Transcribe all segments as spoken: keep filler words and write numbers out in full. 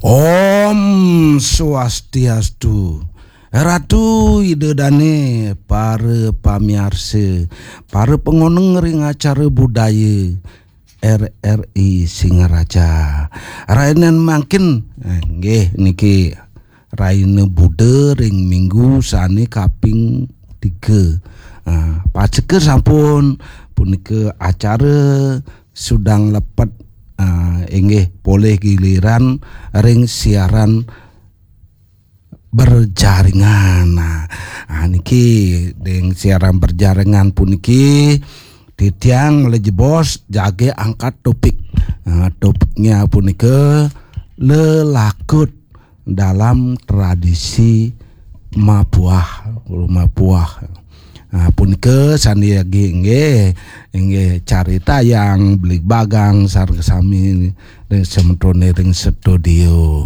Om Swastiastu. Ratu Ida Dane, para pamiarsa, para pangoneng ring acara budaya R R I Singaraja. Rainan mangkin, eh, nggih niki raina Buda ring minggu sane kaping tiga. Ah, paseka sampun punika acara sudang lepet, ah, inggih polih giliran ring siaran berjaringan. Nah, ah, niki ring siaran berjaringan puniki titiang malih jebos jagi angkat topik. Ah, topiknya punika lelakut dalam tradisi mapuah, mapuah. Ah, punika sane jagi inggih, inggih caritayang bligbagang sareng sami ring semetone ring studio.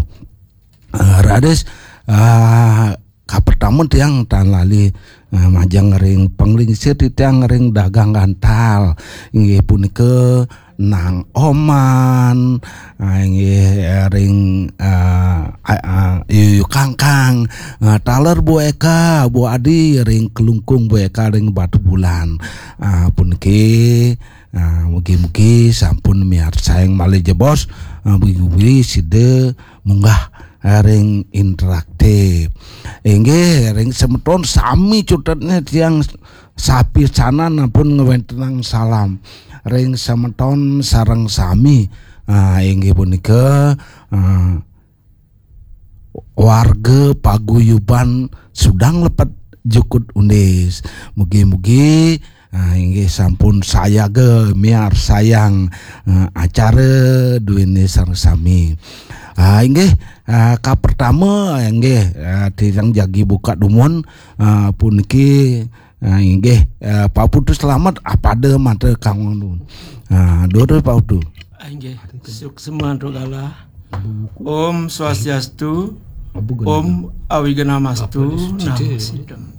Ah, raris, ah, kapertama tiang tan lali, ah, majeng ring panglingsir titiang ring dagang gantal. Inggih punika Nang Oman, ah, inggih, eh, ring, ah, ah, ah, Yuyu Kangkang, ah, taler Bu Eka, Bu Adi ring Klungkung, Bu Eka ring Batubulan. Ah, puniki, ah, mugi-mugi sampun miarsayang malih jebos, ah, mugi-mugi sida munggah, eh, ring interaktif. Inggih, ring semeton sami cutetnya tiang sapisanan ampun ngwentenang salam. Ring semeton sareng sami, ah, inggih punika, ah, warga paguyuban Sudang Lepet Jukut Undis. Mugi-mugi, ah, inggih sampun sayaga miarsayang, ah, acara duene sareng sami. Ah, inggih, ah, kapertama, inggih, ah, tiang jagi buka dumun, ah, puniki, ah, inggih, ah, Pak Putu Slamet, apada mata kangdun. Ah, durus Pak Putu. Ah, inggih, suksma antuk galah. Om Swastiastu, Om Awignamastu, Namo Sidam.